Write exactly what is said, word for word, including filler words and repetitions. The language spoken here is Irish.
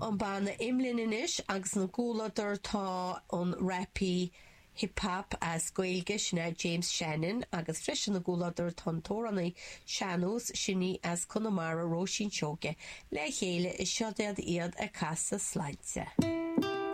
An banna Imlinn anois agus ina gcomhluadar tá an rapaí hip hop as Gaeilge sin é James Shannon agus freisin ina gcomhluadar tá an t-amhránaí sean-nós sin í as Conamara Róisín Seoige le chéile is seo iad ag casadh Sláinte.